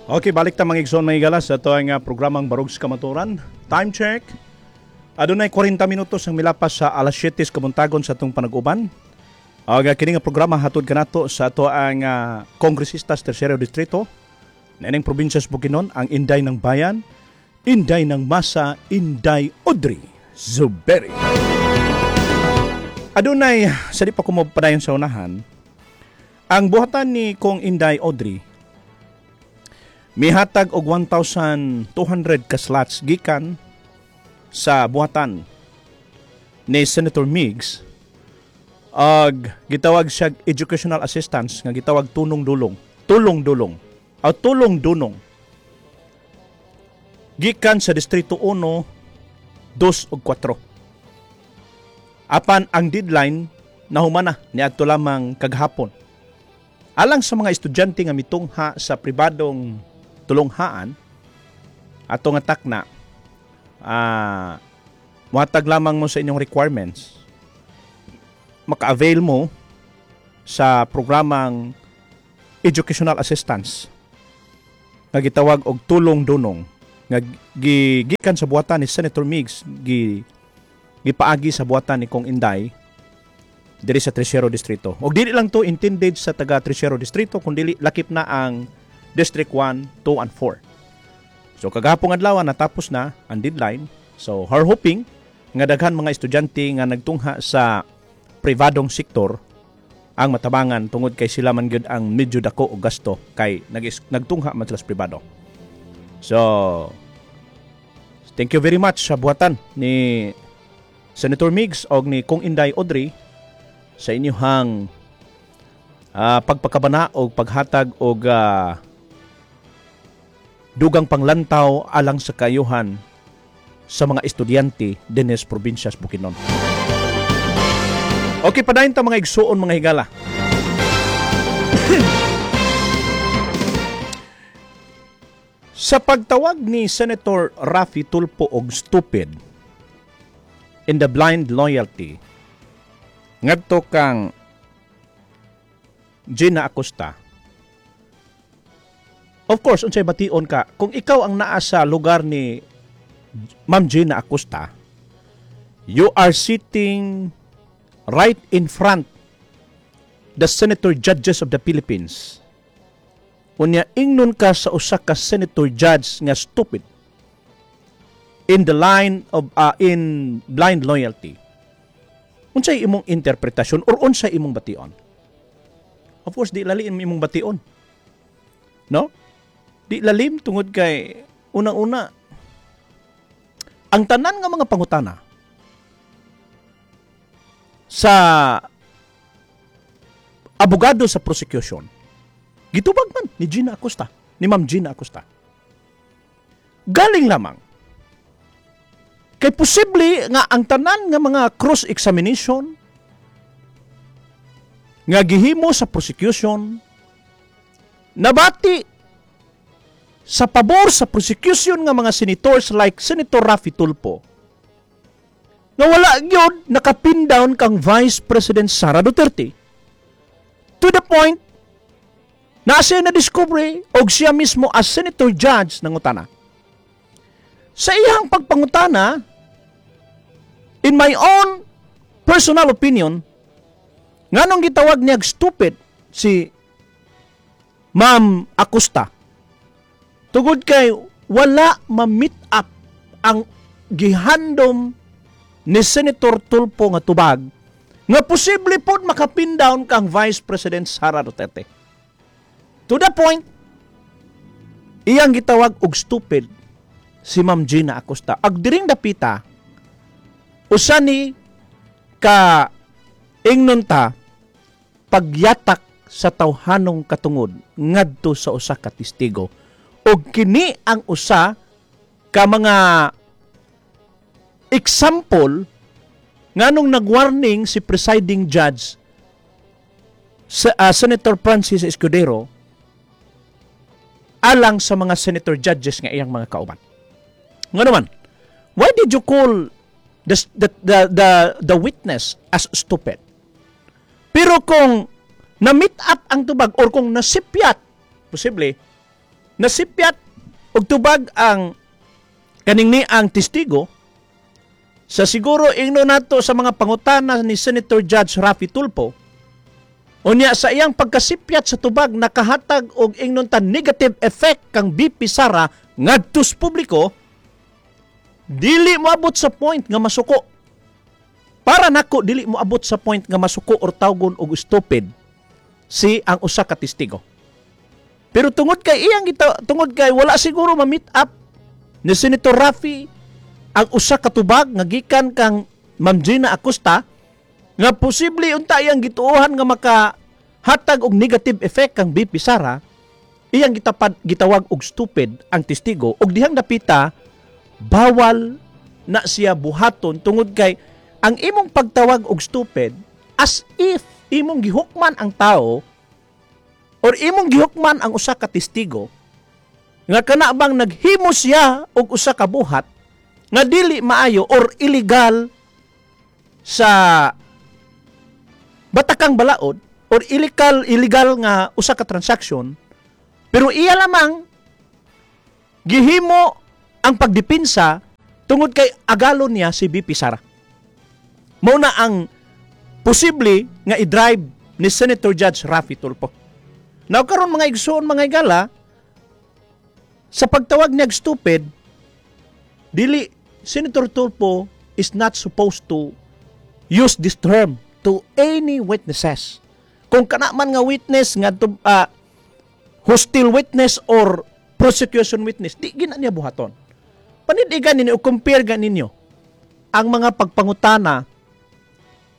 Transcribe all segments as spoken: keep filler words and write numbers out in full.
Okay, balik ta mga igsoon mga higala sa ato ang uh, programang Barog sa Kamatuoran. Time check. Adunay kwarenta minutos ang milapas sa alas siyete sa kabuntagon sa atong panag-uban. Og kini nga programa hatod kanato sa ato ang uh, kongresista sa Tersero Distrito niining probinsya sa Bukidnon, ang Inday ng Bayan, Inday ng Masa, Inday Audrey Zubiri. Adunay sa di pa ko padayon sa unahan, ang buhatan ni Kong Inday Audrey mihatag og one thousand two hundred ka slots gikan sa buhatan ni Senator Migs og gitawag siya educational assistance nga gitawag tunong dulong, tulong dulong o tulong dunong gikan sa Distrito one, two ug four. Apan ang deadline nahuman na niadto lamang kagahapon. Alang sa mga estudyante nga mitungha sa pribadong tulunghaan ato nga takna, ah, muhatag lamang mo sa inyong requirements, maka-avail mo sa programang educational assistance nga gitawag og tulong dunong nga gigikan sa buhatan ni Senator Migs, gi gipaagi sa buhatan ni Kong Inday diri sa Tercero Distrito. Og dili lang to intended sa taga Tercero Distrito kundi lakip na ang District one, two and four. So kagahapong adlaw natapos na ang deadline. So her hoping nga daghan mga estudyante nga nagtungha sa pribadong sektor ang matabangan tungod kay sila man gyud ang medyo dako og gasto kay nag nagtungha man sila sa pribado. So thank you very much sa buhatan ni Senator Migs og ni Kong Inday Audrey sa inyong uh, pagpakabana og paghatag og uh, dugang panglantaw alang sa kayuhan sa mga estudyante dinhi sa probinsya sa Bukidnon. Okay, padayon ta mga igsuon mga higala. Sa pagtawag ni Senator Raffy Tulfo og stupid in the blind loyalty ngadto kang Gina Acosta. Of course, unsay bation ka kung ikaw ang naa sa lugar ni Ma'am Gina Acosta? You are sitting right in front the senator judges of the Philippines. Unya ingnon ka sa usa ka senator judge nga stupid in the line of uh, in blind loyalty. Unsay imong interpretasyon or unsay imong bation? Of course, di lalim imong bation. No? Di lalim tungod kay unang-una ang tanan nga mga pangutana sa abogado sa prosecution gitubag man ni Gina Acosta, ni Ma'am Gina Acosta. Galing lamang kay posible nga ang tanan nga mga cross-examination nga gihimo sa prosecution nabati sa pabor sa prosecution nga mga senators like Senator Raffy Tulfo nga wala gyud nakapin down kang Vice President Sara Duterte to the point na siya na-discover og siya mismo as senator judge nangutana. Sa iyang pagpangutana, in my own personal opinion, nganong gitawag niya stupid si Ma'am Acosta? Tungod kay wala ma-meet up ang gihandom ni Senator Tulfo nga tubag nga posible pod makapin down kang Vice President Sara Duterte. To the point, iyang gitawag og stupid si Ma'am Gina Acosta. Ag diring dapita, usa ni ka ingnon ta pagyatak sa tawhanong katungod ngadto sa usa ka testigo. Og kini ang usa ka mga example nganong nagwarning si presiding judge sa ah, Senator Francis Escudero alang sa mga senator judges nga iyang mga kauban. Nga naman, why did you call the, the, the, the, the witness as stupid? Pero kung na-meet up ang tubag or kung nasipyat, posible, Nasipyat og tubag ang kaning ni ang testigo sa siguro ingno nato sa mga pangutana ni Senator Judge Raffy Tulfo. Unya sa iyang pagkasipyat sa tubag, nakahatag og ingnon ta negative effect kang V P Sara ngadto sa publiko, dili moabot sa point nga masuko. Para nako, dili moabot sa point nga masuko or tawgon og stupid si ang usa ka testigo. Pero tungod kay iyang gita, tungod kay wala siguro ma-meet up ni Senator Raffy ang usa ka tubag nga gikan kang Ma'am Gina Acosta nga posible unta iyang gituohan nga makahatag og negative effect kang V P Sara, iyang gitapad gitawag og stupid ang testigo, og dihang dapita bawal na siya buhaton tungod kay ang imong pagtawag og stupid, as if imong gihukman ang tao or imong gihukman ang usa ka testigo nga kana bang naghimo siya og usa ka buhat nga dili maayo or illegal sa batakang balaod or illegal illegal nga usa ka transaction, pero iya lamang gihimo ang pagdepensa tungod kay agalon niya si V P Sara. Mao na ang posible nga i-drive ni Senator Judge Raffy Tulfo. Now karon, mga igsoon, mga igala, sa pagtawag niya og stupid, dili, Senator Tulfo is not supposed to use this term to any witnesses. Kung kana man nga witness nga to, ah, hostile witness or prosecution witness, di gina niya buhaton. Panidigan ninyo, compare ninyo ang mga pagpangutana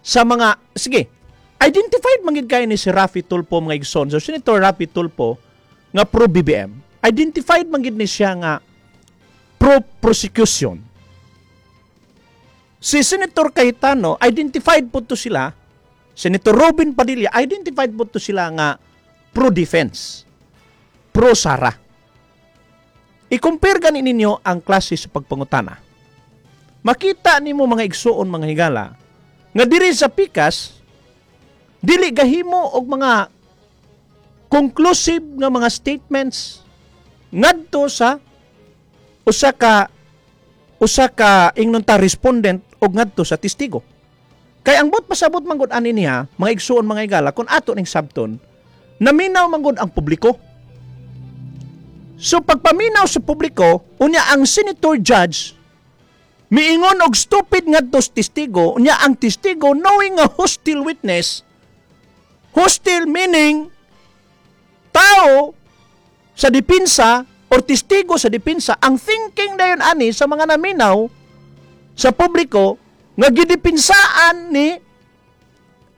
sa mga, sige, identified man gid kay ni si Raffy Tulfo, mga igsoon. So Senator Raffy Tulfo nga pro B B M, identified man gid ni siya nga pro prosecution. Si Senator Cayetano, identified po to sila. Senator Robin Padilla, identified po to sila nga pro defense, pro Sara. I-compare gani ninyo ang klase sa pagpangutana. Makita nimo, mga igsuon, mga higala, nga diri sa pikas dili gahimo og mga conclusive nga mga statements ngadto sa usa ka usa ka ingnon ta respondent og ngadto sa testigo. Kay ang buot pasabot man gud ani niya, mga igsuon, mga higala, kung ato ning sabton, naminaw man gud ang publiko. So pagpaminaw sa publiko, unya ang senator judge miingon og stupid ngadto sa testigo, unya ang testigo, knowing nga hostile witness, hostile meaning tao sa depensa or testigo sa depensa, ang thinking dayon ani sa mga naminaw sa publiko nga gidepensaan ni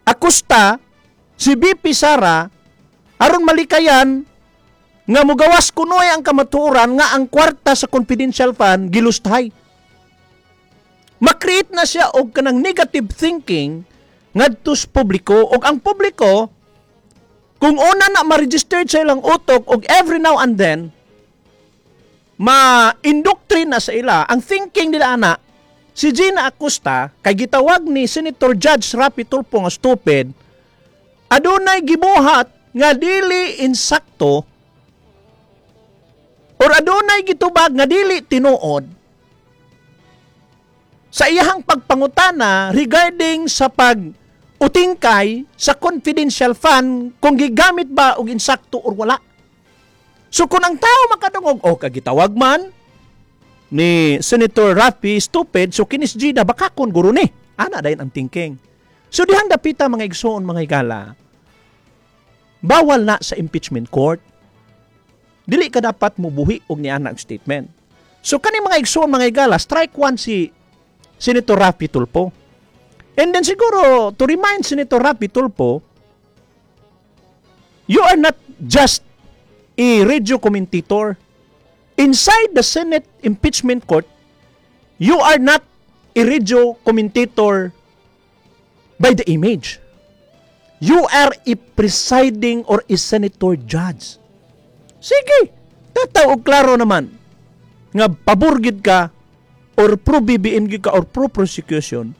Acosta si V P Sara aron malikayan nga mugawas kunoy ang kamatuoran nga ang kwarta sa confidential fund gilustay. Ma-create na siya og kanang negative thinking ngadto sa publiko, og ang publiko, kung una na ma-registered sa ilang utok og every now and then ma-indoctrine na sa ila ang thinking nila ana, si Gina Acosta kay gitawag ni Senator Judge Raffy Tulfo nga stupid, adunay gibuhat nga dili insakto or adunay gitubag nga dili tinuod sa iyahang pagpangutana regarding sa pag utingkay sa confidential fund, kung gigamit ba og insakto or wala. So kung ang tao makadungog, "Oh, kagitawag man ni Senator Raffy stupid, so kinis Gina baka kon guro ni." Ana dayon ang thinking. So dihang dapita, mga igsoon, mga higala, bawal na sa impeachment court. Dili ka dapat mubuhi og niana ang statement. So kani, mga igsoon, mga higala, strike one si Senator Raffy Tulfo. And then siguro, to remind Senator Raffy Tulfo, you are not just a radio commentator. Inside the Senate impeachment court, you are not a radio commentator by the image. You are a presiding or a senator judge. Sige, tataw og klaro naman nga pabor gid ka or pro B B M gid ka or pro prosecution.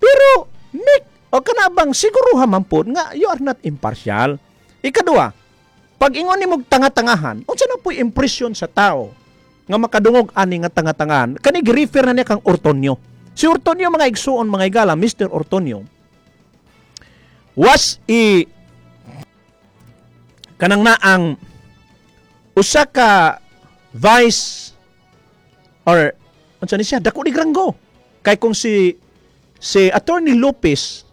Pero make o kana bang siguruha man po nga you are not impartial. Ikadua, Pag ingon nimo tanga-tangahan, unsa na po'y impression sa tao nga makadungog ani nga tanga-tangahan? Kani gi-refer na niya kang Ortonio. Si Ortonio, mga igsuon, mga igala, Mister Ortonio was i kanang na ang usa ka vice or unsa ni siya, dako ni ranggo. Kay kung si si Attorney Lopez,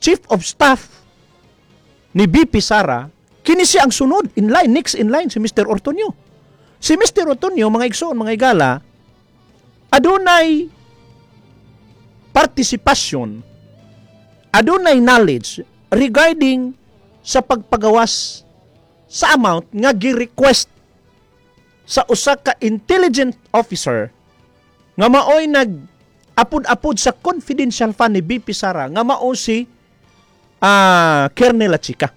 Chief of Staff ni V P Sara, kini siya ang sunod in line, next in line, si Mister Ortonio. Si Mister Ortonio, mga igsoon, mga igala, adunay partisipasyon, adunay knowledge regarding sa pagpagawas sa amount nga gi-request sa usa ka intelligent officer nga maoy nag apud-apud sa confidential fund ni V P Sara nga mao si ah Colonel La Chica.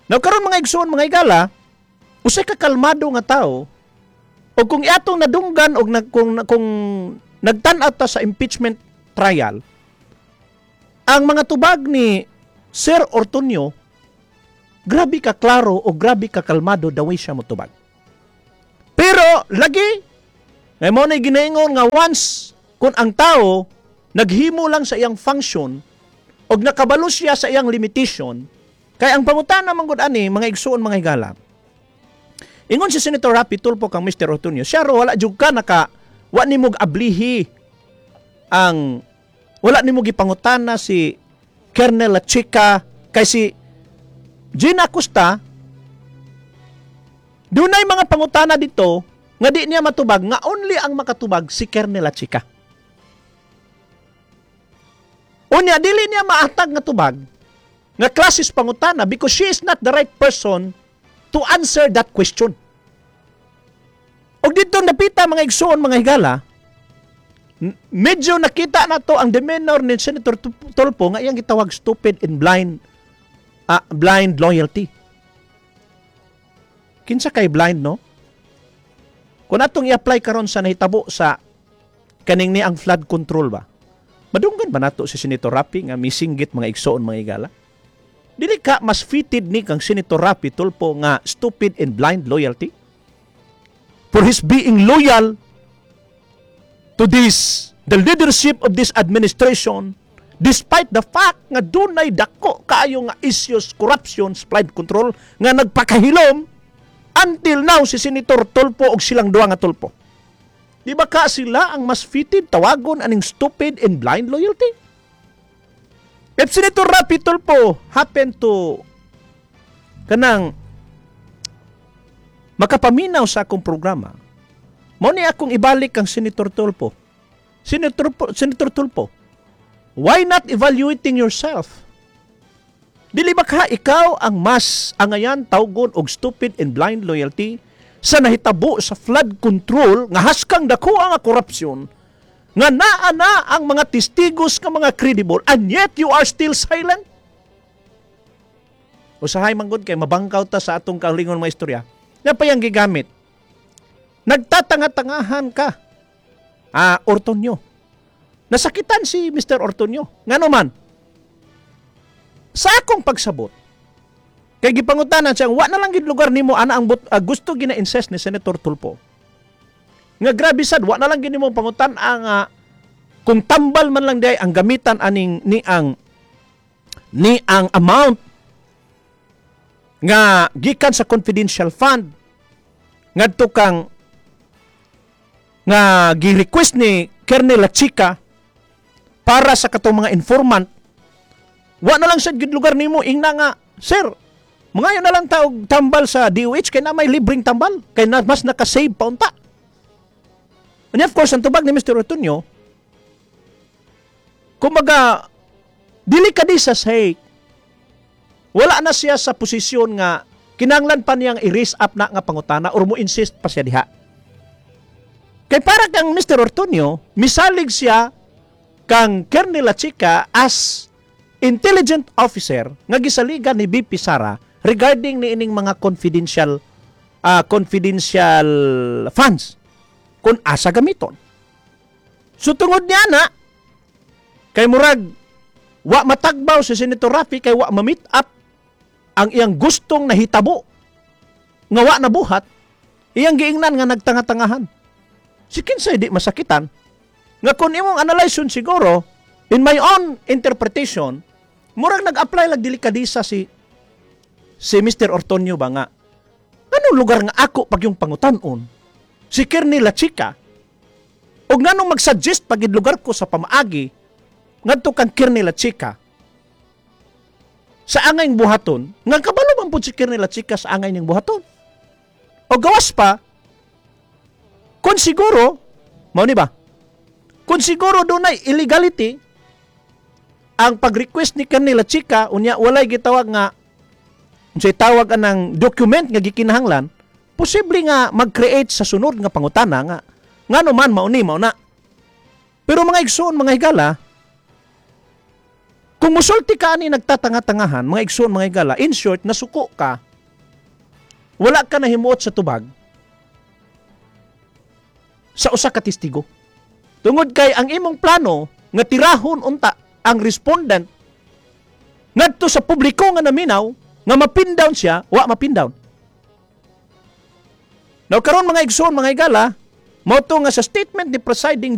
Now karon, mga igsoon, mga igala, usa ka kalmado nga tao o kung iatong nadunggan og nag, kung kung nagtan-aw ta sa impeachment trial, ang mga tubag ni Sir Ortonio, grabe ka klaro o grabe ka kalmado the way siya motubag. Pero lagi ngay mo na ginaingon nga once kung ang tao naghimo lang sa iyang function og nakabalo siya sa iyang limitation, kay ang pangutana man gud ani, mga igsuon, mga higala, ingon si Senator Raffy Tulfo kang Mister Ortonio, siya ro wala jud ka naka wa nimo ablihi ang wala nimo gipangutana si Colonel La Chica kay si Gina Acosta dunay mga pangutana dito nga di niya matubag, nga only ang makatubag si Colonel La Chica. Unya, dili niya maatag nga tubag nga klases pangutana because she is not the right person to answer that question. Og dito napita, mga igsuon, mga higala, n- medyo nakita na to ang demeanor ni Senator Tu- Tulfo nga iyang gitawag stupid and blind ah, blind loyalty. Kinsa kay blind, no? Kung atong i-apply karon sa nahitabo sa kaning ni ang flood control ba? Madunggan ba nato si Senator Raffy nga misinggit, mga igsoon, mga higala? Dili ka mas fitted ni kang Senator Raffy Tulfo nga stupid and blind loyalty? For his being loyal to this, the leadership of this administration, despite the fact nga dunay dako kaayo nga issues, corruption, flood control, nga nagpakahilom until now si Senator Tulfo og silang duha nga Tulfo. Di ba ka sila ang mas fitted tawagon aning stupid and blind loyalty? If Senator Raffy Tulfo happen to kanang makapaminaw sa akong programa, mao ni akong ibalik kang Senator Tulfo. Senator, Senator Tulfo, why not evaluating yourself? Dili ba ka ikaw ang mas angayan tawgon og stupid and blind loyalty sa nahitabo sa flood control nga haskang dako ang korupsyon nga naa na ang mga testigos nga mga credible, and yet you are still silent? Usahay man gud kay mabangkaw ta sa atong kaugalingon mga istorya. Na pa yang gigamit. Nagtatanga-tangahan ka. Ah, Ortonio. Nasakitan si Mister Ortonio. Ngano man? Sa akong pagsabot, kay gipangutanan siya, wa na lang gid lugar nimo ana ang but, ah, gusto gina-insist ni Senator Tulfo. Nga grabe sad, wa na lang gid nimo pangutan ang ah, kung tambal man lang day ang gamitan aning ni ang ni ang amount nga gikan sa confidential fund ngadto kang nga gi-request ni Colonel La Chica para sa katong mga informant, wa na lang sad gid lugar nimo ingna nga, "Sir, mangayo na lang ta og tambal sa D O H kay na may libreng tambal kay na mas naka-save pa unta." And of course, ang tubag ni Mister Ortonio, kumbaga dili ka di sa sake, wala na siya sa posisyon nga kinanglan pa niyang i-raise up na nga pangutana or mo insist pa siya diha. Kay para kang Mister Ortonio, misalig siya kang Colonel La Chica as intelligent officer nga gisaligan ni V P Sara regarding ni ining mga confidential ah, confidential funds kung asa gamiton. So tungod niya na kay murag wa matagbaw si Senator Raffy kay wa ma-meet up ang iyang gustong nahitabo. Nga wa nabuhat, iyang giingnan nga nagtanga-tangahan. Si kinsay di masakitan? Nga kung imong analysis siguro, in my own interpretation, murag nag-apply lag delikadesa si si Mister Ortonio ba nga anong lugar nga ako pag yung pangutanon si Kerny La Chica og nganong mag-suggest pag lugar ko sa pamaagi ngadto kang Kerny La Chica sa angay buhaton, nga kabalo man pud si Kerny La Chica sa angay niyang buhaton? O gawas pa, kung siguro mao ni ba, kung siguro dunay illegality ang pag-request ni Kerny La Chica, unya walay gitawag nga unsay tawag anang document nga gikinahanglan, posible nga mag-create sa sunod nga pangutana nga ngano man mao ni mao na. Pero mga igsoon, mga higala, kung musulti ka ani nagtatanga-tangahan, mga igsoon, mga higala, in short, nasuko ka, wala ka nahimuot sa tubag sa usa ka testigo. Tungod kay ang imong plano nga tirahon unta ang respondent ngadto sa publiko nga naminaw nga mapin down siya, wa mapin down. Now karon, mga igsoon, mga higala, mao to nga sa statement ni presiding judge